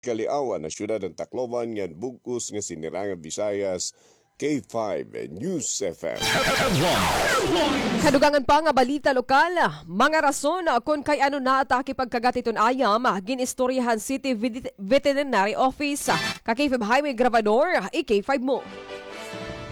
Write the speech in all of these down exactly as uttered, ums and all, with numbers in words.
Kaliawan ha syudad han Tacloban ngan bug-os nga Sinirangan Visayas, K five News F M. Kadugangan pa nga balita lokal, mga rason kon kay ano naatake pagkagat hiton ayam, gin-istorya han City Vet-, Veterinary Office. Ka K five Jaime Grabador, i-K five mo.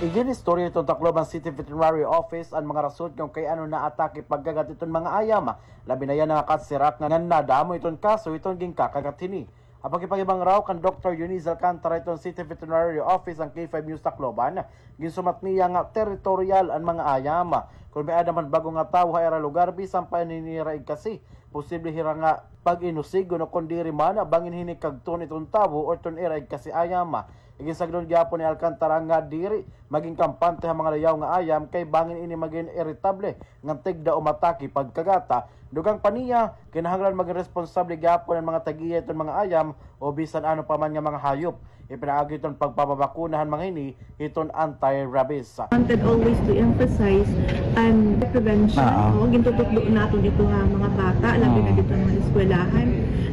Igin-istorya hiton Tacloban City Veterinary Office an mga rason kon kay ano naatake pagkagat hiton mga ayam. Labi na yana nga katsirak nga nadamo hiton kaso hiton ginkakagat hini. Ha pakigpahibangaraw kan Doktor Eunice Alcantara hiton City Veterinary Office han K five News Tacloban, ginsumat niya nga teritoryal an mga ayam. Kon may-ada man bag-o nga tawo ha ira lugar, bisan pa hini ira igkasi, posible hira nga pag-inusigon o kon diri man bangin hini kadton hiton tawo o hiton ira igkasi ayam. Iginsagdon gihapon ni Alcantara nga diri magin kampante ha mga layaw nga ayam kay bangin ini magin iritable ngan tigda o matake pagkagat. Dugang pa niya, kinahanglan magin responsable gihapon an mga tag-iya hiton mga ayam o bisan ano pa man nga mga hayop. Ipinaagi hiton pagpapabakuna han mga hini hiton anti-rabies. Wanted always to emphasize an prevention. Oo. Oo, gintututdo naton ito ha mga bata, labi na didto ha mga eskwelahan.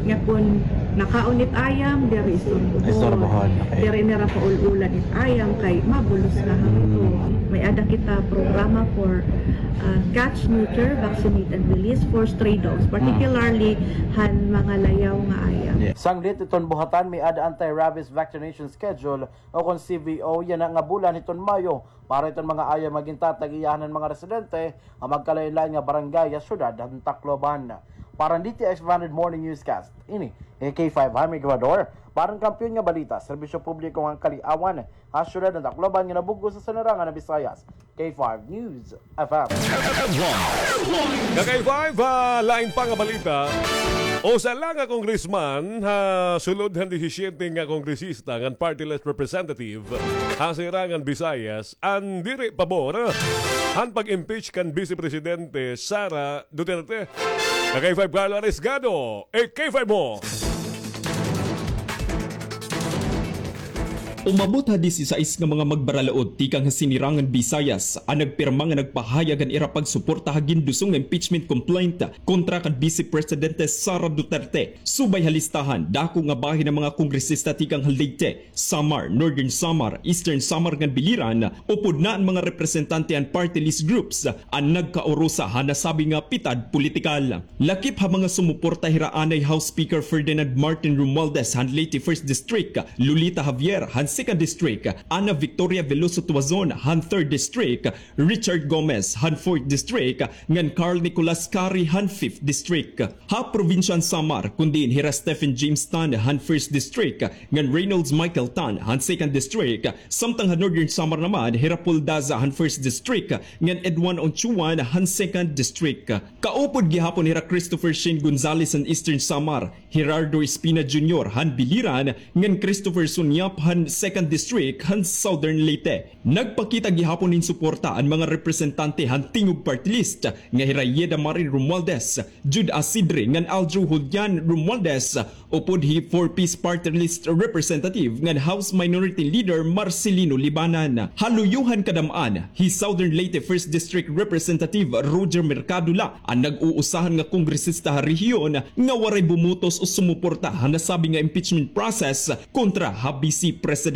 Nga kon nakaon it ayam, diri istorbohon. Istorbohon, okay. Diri nira paul-ulan it ayam kay mabulos nga hangko. May-ada kita programa for, ah, catch, neuter, vaccinate, and release for stray dogs, particularly han mga layaw nga ayam. Yeah. Sanglit hiton buhatan, may-ada anti-rabies vaccination schedule o kon C V O yana nga bulan hiton Mayo para hiton mga ayam nga gintatag-iyahan han mga residente ha magkalain-lain nga barangay ha syudad han Tacloban. Para han D T X five hundred Morning Newscast, ini hi K five Jaime Grabador, para han Kampiyon nga Balita, Serbisyo Publiko ngan Kaliawan, ha syudad han Tacloban nga nabug-os ha Sinirangan Visayas, K five News F M. Ka K five, ha lain pa nga balita, usa la nga congressman ha sulod han disisyete nga kongresista ngan party list representative ha Sinirangan Visayas an diri pabor han pag-impeach kan Vice Presidente Sara Duterte. Ka K five Carlo Arisgado, i-K five mo. Umabot ha disisais nga mga magbaralaod tikang ha Sinirangan Visayas an nagpirma nga nagpahayag han ira pagsuporta ha gindusong nga impeachment complaint kontra kan Vice Presidente Sara Duterte. Subay ha listahan, dako nga bahin han mga kongresista tikang ha Leyte, Samar, Northern Samar, Eastern Samar ngan Biliran, upod na an mga representante han party list groups an nagkaurusa han nasabi nga pitad politikal. Lakip ha mga sumuporta hira anay House Speaker Ferdinand Martin Romualdez han Leyte First District, Lolita Javier han Second District, Ana Victoria Veloso Tuazon han Third District, Richard Gomez han Fourth District, ngan Carl Nicolas Cari han Fifth District. Ha probinsya han Samar, kon diin hira Stephen James Tan han First District, ngan Reynolds Michael Tan han Second District, samtang ha Northern Samar naman, hira Paul Daza han First District, ngan Edwin Onchuan han Second District. Kaupod gihapon hira Christopher Shane Gonzales han Eastern Samar, Gerardo Espina Junior han Biliran, ngan Christopher Sunyap han Second District han Southern Leyte. Nagpakita gihapon hin suporta an mga representante han Tingog Party List nga hira Yeda Marie Romualdez, Jude Asidre ngan Aldro Julian Romualdez, upod hi Four Ps Party List Representative ngan House Minority Leader Marcelino Libanan. Ha luyo han kadam-an, hi Southern Leyte First District Representative Roger Mercado la an nag-uusahan nga kongresista ha rehiyon nga waray bumutos o sumuporta ha nasabi nga impeachment process kontra ha Vice Presidente.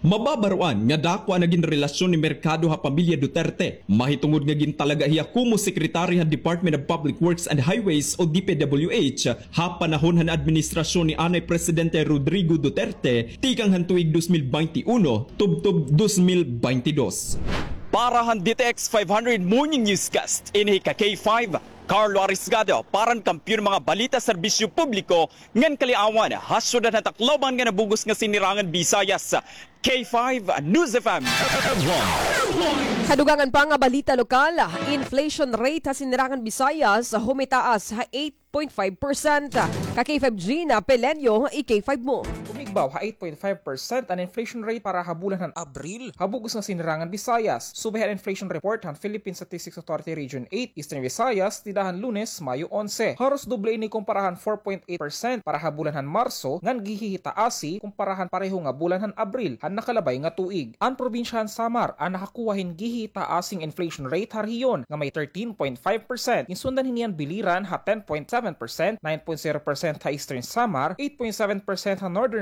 Mababaroan nga dako an nagin relasyon ni Mercado ha pamilya Duterte, mahitungod nga gintalaga hiya komo sekretary han Department of Public Works and Highways o D P W H ha panahon han administrasyon ni anay Presidente Rodrigo Duterte tikang han tuig dos mil baynte uno tubtob dos mil baynte dos. Para han D T X five hundred Morning Newscast, ini hi ka K five, Carlo Arisgado, para han Kampiyon Mga Balita, Serbisyo Publiko ngan Kaliawan, ha syudad han Tacloban nga nabug-os nga Sinirangan Visayas, K five News F M. Kadugangan pa nga balita lokal, inflation rate ha Sinirangan Visayas humitaas ha eight point five percent. Ka K five Gina Pelenyo, i-K five mo. Humigbaw ha eight point five percent an inflation rate para ha bulan han Abril ha bug-os nga Sinirangan Visayas, subay han inflation report han Philippine Statistics Authority Region eight, Eastern Visayas, dida han Lunes, Mayo onse. Haros doble ini kumpara han four point eight percent para ha bulan han Marso, ngan gihihitaasi kumpara han pareho nga bulan han Abril han nakalabay nga tuig. An probinsya han Samar an nakakuha hin gihi Taas in inflation rate ha rehiyon nga may thirteen point five percent. Ginsundan hini an biliran ha ten point seven percent, nine point zero percent ha Eastern Samar, eight point seven percent ha Northern